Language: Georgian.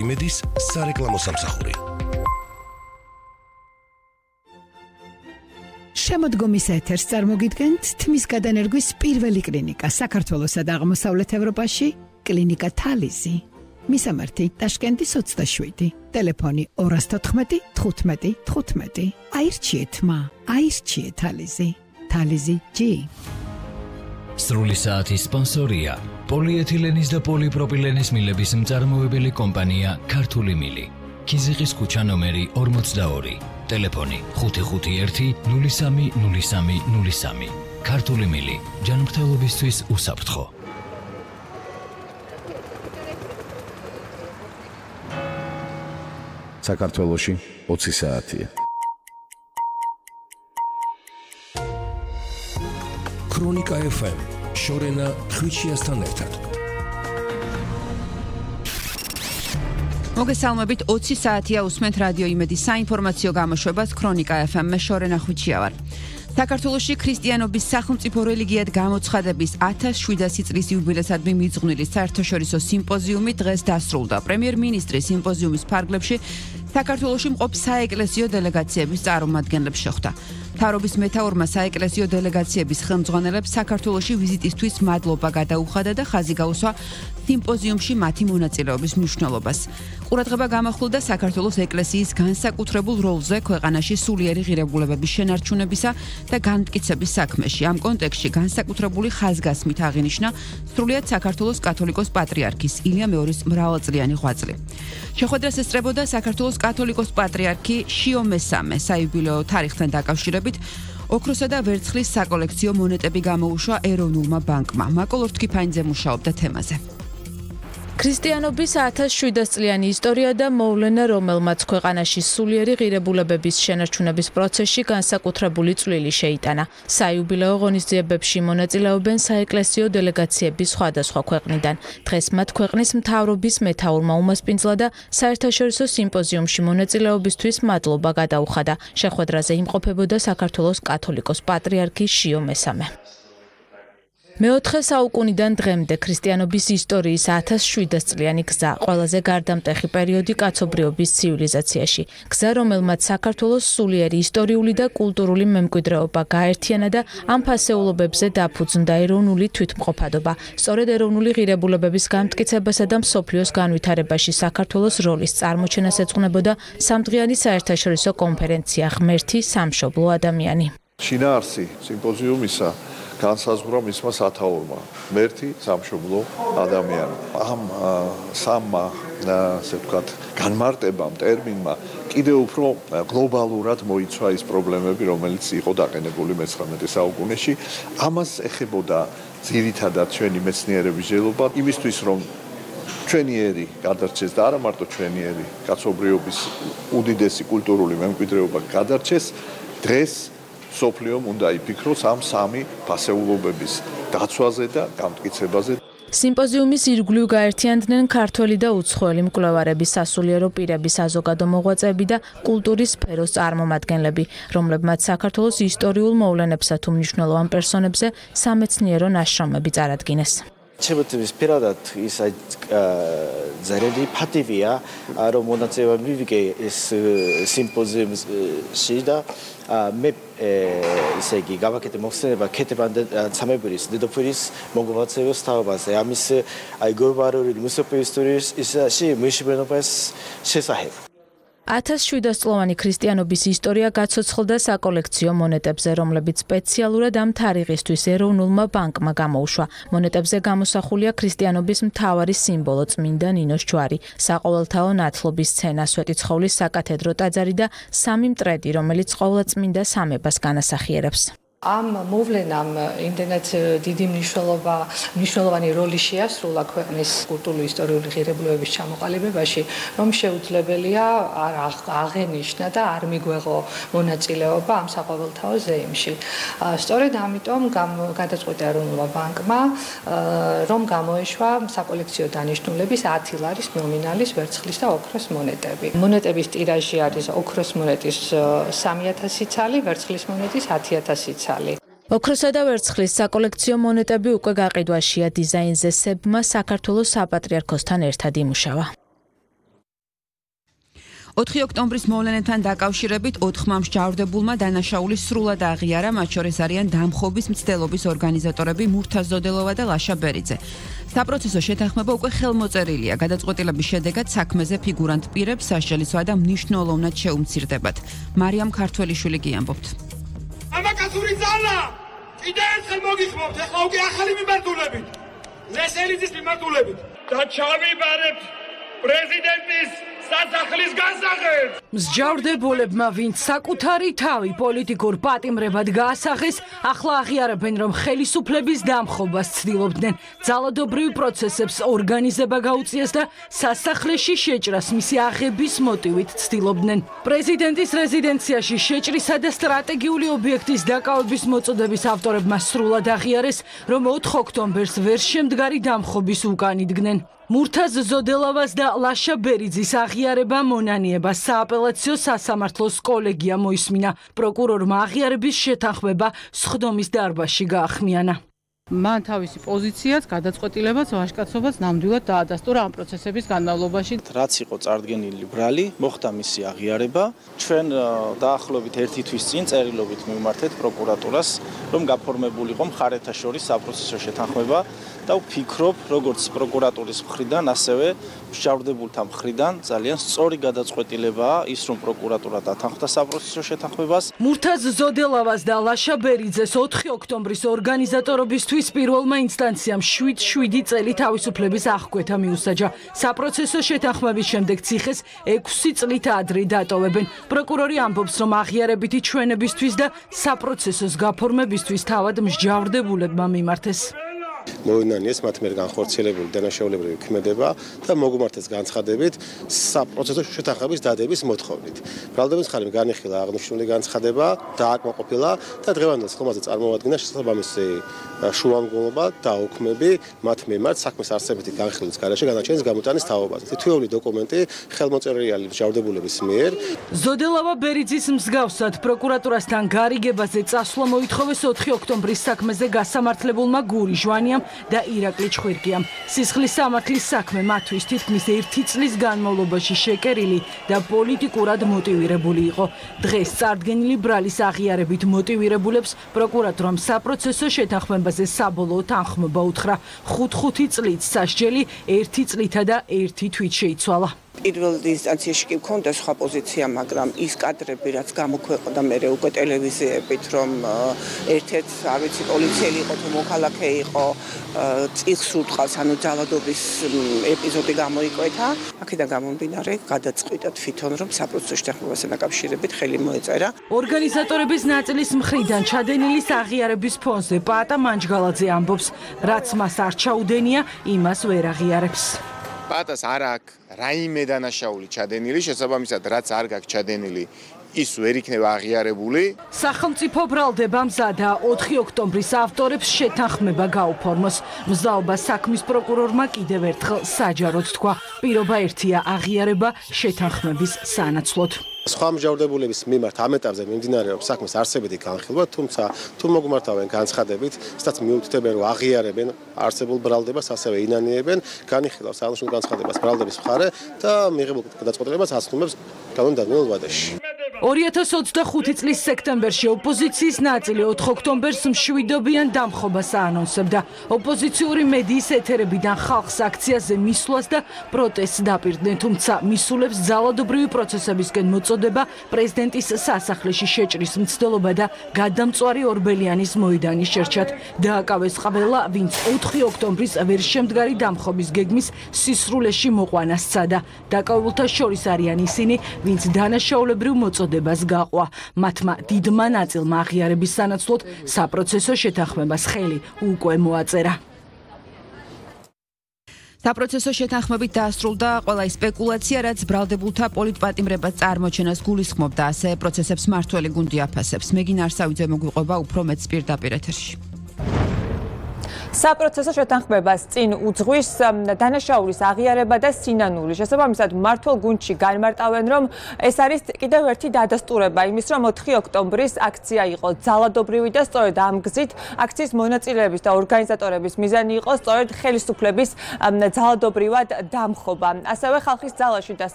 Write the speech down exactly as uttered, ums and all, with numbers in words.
იმედის სარეკლამო სამსახური. შემოდგომის ეთერს წარმოგიდგენთ თმის გადანერგვის პირველი კლინიკა საქართველოსა და აღმოსავლეთ ევროპაში, კლინიკა თალიზი. მისამართი ტაშკენტის ოცდაშვიდი, ტელეფონი ორას თოთხმეტი თხუთმეტი თხუთმეტი. აირჩიეთ მა, აირჩიეთ თალიზი. თალიზი ჯი. სრული საათის სპონსორია პოლიეთილენის და პოლიპროპილენის მილების მწარმოებელი კომპანია ქართული მილი. ქიზიყის ქუჩა ნომერი ორმოცდაორი. ტელეფონი ხუთი ხუთი ერთი ნული სამი ნული სამი ნული სამი. ქართული მილი ჯანმრთელობისთვის უსაფრთხო. საქართველოში ოცი საათია. ქრონიკა ეფ ემ შორენა ხვიჩიასთან ერთად. მოგესალმებით, ოცი საათია უსმენთ რადიო იმედის საინფორმაციო გამოშვებას ქრონიკა ეფ ემ-ში შორენა ხვიჩია ვარ. საქართველოში ქრისტიანობის სახელმწიფო რელიგიად გამოცხადების ათას შვიდასი წლის იუბილესადმი მიძღვნილი საერთაშორისო სიმპოზიუმი დღეს დასრულდა. პრემიერ-მინისტრი სიმპოზიუმის ფარგლებში საქართველოში მყოფ საეკლესიო დელეგაციების წარმომადგენლებს შეხვდა. მთავრობის მეთაურმა საეკლესიო დელეგაციების ხელმძღვანელებს საქართველოში ვიზიტისთვის მადლობა გადაუხადა და ხაზი გაუსვა სიმპოზიუმში მათი მონაწილეობის მნიშვნელობას. ყურადღება გამახვილდა საქართველოს ეკლესიის განსაკუთრებულ როლზე ქვეყანაში სულიერი ღირებულებების შენარჩუნებისა და განმტკიცების საქმეში. ამ კონტექსტში განსაკუთრებული ხაზგასმით აღინიშნა სრულიად საქართველოს კათოლიკოს პატრიარქის ილია მეორის მრავალწლიანი ღვაწლი. შეხვედრას ესწრებოდა საქართველოს კათოლიკოს პატრიარქი შიო მესამე. საიუბილეო თარიღთან დაკავშირებით ოქროსა და ვერცხლის საკოლექციო მონეტები გამოუშვა ეროვნულმა ბანკმა. მაკოლ ორთქიფანიძე მუშაობდა თემაზე. ქრისტიანობის ათას შვიდას წლიანი ისტორია და მოვლენა, რომელმაც ქვეყანაში სულიერი ღირებულებების შენარჩუნების პროცესში განსაკუთრებული წვლილი შეიტანა. საიუბილეო ღონისძიებებში მონაწილეობენ საეკლესიო დელეგაციები სხვადასხვა ქვეყნიდან. დღეს მათ ქვეყნის მთავრობის მეთაურმა უმასპინძლა და საერთაშორისო სიმპოზიუმში მონაწილეობისთვის მადლობა გადაუხადა. შეხვედრაზე იმყოფებოდა საქართველოს კათოლიკოს პატრიარქი შიო მესამე. მეოთხე საუკუნიდან დღემდე ქრისტიანობის ისტორიის ათას შვიდას წლიანი გზა, ყველაზე გარდამტეხი პერიოდი კაცობრიობის ცივილიზაციაში. გზა, რომელმაც საქართველოს სულიერი ისტორიული და კულტურული მემკვიდრეობა გააერთიანა და ამ ფასეულობებზე დაფუძნდა ეროვნული თვითმყოფადობა. სწორედ ეროვნული ღირებულებების განმტკიცებასა და მსოფლიოს განვითარებაში საქართველოს როლის წარმოჩენას ეძღვნებოდა სამდღიანი საერთაშორისო კონფერენცია ღმერთი სამშობლო ადამიანი. შინაარსი სიმპოზიუმისა განსაზღვრა მისმა სათაურმა ღმერთი სამშობლო ადამიანი. ამ სამმა ასე ვთქვათ განმარტებამ ტერმინმა კიდევ უფრო გლობალურად მოიცვა ის პრობლემები, რომელიც იყო დაყენებული მეცხრამეტე საუკუნეში. ამას ეხებოდა ძირითადად ჩვენი მეცნიერების ჟელობა იმისთვის, რომ ჩვენიერი გადარჩეს და არა მარტო ჩვენიერი კაცობრიობის უდიდესი კულტურული მემკვიდრეობა გადარჩეს. დღეს სოფლიომ უნდა იფიქროს ამ სამი ფასეულობების დაცვაზე და გამტკიცებაზე. სიმპოზიუმის ირგვლივ გაერთიანდნენ ქართველი და უცხოელი მკვლევარები, სასულიერო პირების საზოგადო მოღვაწეები და კულტურის სფეროს წარმომადგენლები, რომლებმაც საქართველოს ისტორიულ მოვლენებსა თუ მნიშვნელოვან პერსონებზე სამეცნიერო ნაშრომები წარადგინეს. ჩემთვის პირადად ის ძალიან ფატივია, რომ მონაწილეობა მივიღე ეს სიმპოზიუმში და მე ისე იგი გავაკეთე მოხსენება ქეთებან და სამებრის დედოფლის მოღვაწეობის თაობაზე. ამის აი გლობალური მუსიკალური ისტორიის ისაში მეშვენობას შესახებ. ათას შვიდას წლოვანი ქრისტიანობის ისტორია გაცოცხლდა საკოლექციო მონეტებზე, რომლებიც სპეციალურად ამ თარიღისთვის ეროვნულმა ბანკმა გამოუშვა. მონეტებზე გამოსახულია ქრისტიანობის მთავარი სიმბოლო წმინდა ნინოს ჯვარი, საყოველთაო ნათლობის სცენა, სვეტიცხოვლის საკათედრო ტაძარი და სამი მტრედი, რომელიც ყოვლადწმინდა სამებას განასახიერებს. ამ მოვლენამ იმდენად დიდი მნიშვნელობა, მნიშვნელოვანი როლი შეასრულა ქვეყნის კულტურული ისტორიული ღირებულებების ჩამოყალიბებაში, რომ შეუძლებელია არ აღენიშნა და არ მიგვეღო მონაწილეობა ამ საყოველთაო ზეიმში. სწორედ ამიტომ გადაწყვიტა ეროვნულმა ბანკმა, რომ გამოეშვა საკოლექციო დანიშნულების ათი ლარის ნომინალის ვერცხლის და ოქროს მონეტები. მონეტების ტირაჟი არის ოქროს მონეტის სამი ათასი ცალი, ვერცხლის მონეტის ათი ათასი ცალი. ოქროსა და ვერცხლის საკოლექციო მონეტები უკვე გაყიდვაშია. დიზაინზე სებმა საქართველოს საპატრიარქოსთან ერთად იმუშავა. ოთხი ოქტომბრის მოვლენებთან დაკავშირებით ოთხმა მსჯავრდებულმა დანაშაული სრულად აღიარა, მათ შორის არიან დამხობის მცდელობის ორგანიზატორები მურთაზ ზოდელოვა და ლაშა ბერიძე. საპროცესო შეთანხმება უკვე ხელმოწერილია. გადაწყვეტილების შედეგად საქმეზე ფიგურანტ პირებს სასჯელისვა და მნიშვნელოვნად შეუმცირდებათ. მარიამ ქართველიშვილი გიამბობთ. ამაკაცური ძალა კიდევ ერთხელ მოგიხმობთ, ახლა უკვე ახალი მიმართულებით. ლესელიძის მიმართულებით და ჩავიბარებთ პრეზიდენტის სასახლის განსახილვას. მსჯავრდებულებმა, ვინც საკუთარი თავი პოლიტიკურ პატიმრებად გაასახეს, ახლა აღიარებენ, რომ ხელისუფლების დამხობას ცდილობდნენ, ძალადობრივ პროცესებს ორგანიზება გაუწიეს და სასახლეში შეჭრას მისი აღების მოტივით ცდილობდნენ. პრეზიდენტის რეზიდენციაში შეჭრისა და სტრატეგიული ობიექტის დაკავების მოწოდების ავტორებმა სრულად აღიარეს, რომ ოთხ ოქტომბერს ვერ შემდგარი დამხობის უკან იდგნენ. მურთაზ ზოდელავას და ლაშა ბერიძის აღიარება მონანიება სააპელაციო სასამართლოს კოლეგია მოისმინა. პროკურორმა აღიარების შეთანხმება სხდომის დარბაზში გაახმიანა. მან თავისი პოზიციაც, გადაწყვეტილებაც, ვაჟკაცობაც ნამდვილად დაადასტურა ამ პროცესების განმავლობაში. რაც იყო წარდგენილი ბრალი, მოხდა მისი აღიარება. ჩვენ დაახლოებით ერთი თვის წინ წერილობით მივმართეთ პროკურატურას, რომ გაფორმებულიყო მხარეთა შორის საპროცესო შეთანხმება და ვფიქრობ, როგორც პროკურატურის მხრიდან, ასევე მსჯავრდებულთა მხრიდან ძალიან სწორი გადაწყვეტილებაა ის, რომ პროკურატურა დათანხმდა საპროცესო შეთანხმებას. მურთაზ ზოდელავას და ლაშა ბერიძეს ოთხი ოქტომბრის ორგანიზატორობისთვის პირველმა ინსტანციამ შვიდ შვიდი წელი თავისუფლების აღკვეთა მიუსაჯა. საპროცესო შეთანხმების შემდეგ ციხეს ექვსი წლით ადრე დატოვებენ. პროკურორი ამბობს, რომ აღიარებითი ჩვენებისთვის და საპროცესოს გაფორმებისთვის თავად მსჯავრდებულებმა მიმართეს. მოინანიეს მათ მიერ განხორციელებული დანაშაულებრივი ქმედება და მოგუმართეს განცხადებით საპროცესო შეთანხმების დადების მოთხოვნით. ბრალდების მხარემ განიხილა აღნიშნული განცხადება, დააკმაყოფილა და დღევანდელ ხომაზე წარმოადგინა შესაბამისი შუამდგომლობა და ოქმები მათ მიმართ საქმის არსებითი განხილვის გარეშე განაჩენის გამოტანის თაობაზე. თითოეული დოკუმენტი ხელმოწერილია მსჯავრდებულების მიერ. ზოდელავა ბერიძის მსგავსად პროკურატურასთან გარიგებაზე წასვლა მოითხოვეს ოთხი ოქტომბრის საქმეზე გასამართლებულმა გური ჟვანიამ და ირაკლი ჩხვირკიამ. სისხლის სამართლის საქმე მათთვის თითქმის ერთი წლის განმავლობაში შეკერილი და პოლიტიკურად მოტივირებული იყო. დღეს წარდგენილი ბრალის აღიარებით მოტივირებულებს პროკურატურამ საპროცესო შეთანხმებაზე საბოლოო თანხმობა უთხრა. ხუთ-ხუთი წლით სასჯელი ერთი წლითა და ერთი თვით შეიცვალა. პირველ ინსტანციაში კი მქონდა სხვა პოზიცია, მაგრამ ის კადრები, რაც გამოქვეყნდა მერე უკვე ტელევიზიებით, რომ ერთ-ერთ, არ ვიცი, პოლიციელი იყო თუ მოქალაქე იყო, წიხს უტყავს, ანუ ძალადობის ეპიზოდი გამოიკვეთა. აქედან გამომდინარე, გადაწყვიტა თვითონ, რომ საპროცესო შეთანხმებასთან დაკავშირებით ხელი მოეწერა. ორგანიზატორების ნაწილის მხრიდან ჩადენილის აღიარების ფონზე პაატა მანჯგალაძე ამბობს, რაც მას არ ჩაუდენია, იმას ვერ აღიარებს. პატას არ აქვს რაიმე დანაშაული ჩადენილი, შესაბამისად, რაც არ გაქვს ჩადენილი, ის ვერ იქნება აღიარებული. სახელმწიფო ბრალდება მზადა ოთხი ოქტომბრის ავტორებს შეთანხმება გაუფორმოს. მზაობა საქმის პროკურორმა კიდევ ერთხელ საჯაროდ თქვა, პირობა ერთია აღიარება შეთანხმების სანაცვლოდ. სხვა მსჯავრდებულების მიმართ ამ ეტაპზე მიმდინარეობს საქმის არსებითი განხილვა, თუმცა თუ მოგმართავენ განცხადებით, სადაც მიუთითებენ, რომ აღიარებენ არსებულ ბრალდებას, ასევე ინანიებენ, განიხილავს აღნიშნულ განცხადებას ბრალდების მხარე და მიღებულ გადაწყვეტილებას აცნობს კანონდადმეულ ვადაში. ორი ათას ოცდახუთი წლის სექტემბერში ოპოზიციის ნაწილი ოთხ ოქტომბერს მშვიდობიან დამხობას აანონსებდა. ოპოზიციური მედიის ეთერებიდან ხალხს აქციაზე მისვლას და პროტესტს დაპირდნენ, თუმცა მისულებს ძალადობრივი პროცესებისკენ მოწოდება, პრეზიდენტის სასახლეში შეჭრის მცდელობა და გადამწვარი ორბელიანის მოედანი შერჩათ. დააკავეს ყველა, ვინც ოთხი ოქტომბრის ვერ შემდგარი დამხობის გეგმის სისრულეში მოყვანა სცადა. დაკავებულთა შორის არიან ისინი, ვინც დანაშაულებრივ მოწოდებას გაყვა. მათმა დიდმა ნაწილმა აღიარების სანაცვლოდ საპროცესო შეთანხმებას ხელი უკვე მოაწერა. საპროცესო შეთანხმებით დაასრულდა ყველა სპეკულაცია, რაც ბრალდებულთა პოლიტპატიმრებას წარმოჩენას გულისხმობდა, ასე პროცესებს მართველი გუნდი აფასებს. მეგინ არსავიძე მოგვიყვება უფრო მეტს პირდაპირ ეთერში. საპროცესო შეთანხმებას წინ უძღვის დანაშაულის აღიარება და სინანული. შესაბამისად, მმართველ გუნდში განმარტავენ, რომ ეს არის კიდევ ერთი დადასტურება იმის, რომ ოთხი ოქტომბრის აქცია იყო ძალადობრივი და სწორედ ამ გზით აქციის მონაწილეების და ორგანიზატორების მიზანი იყო სწორედ ხელისუფლების ძალადობრივად დამხობა. ასევე ხალხის ძალაში და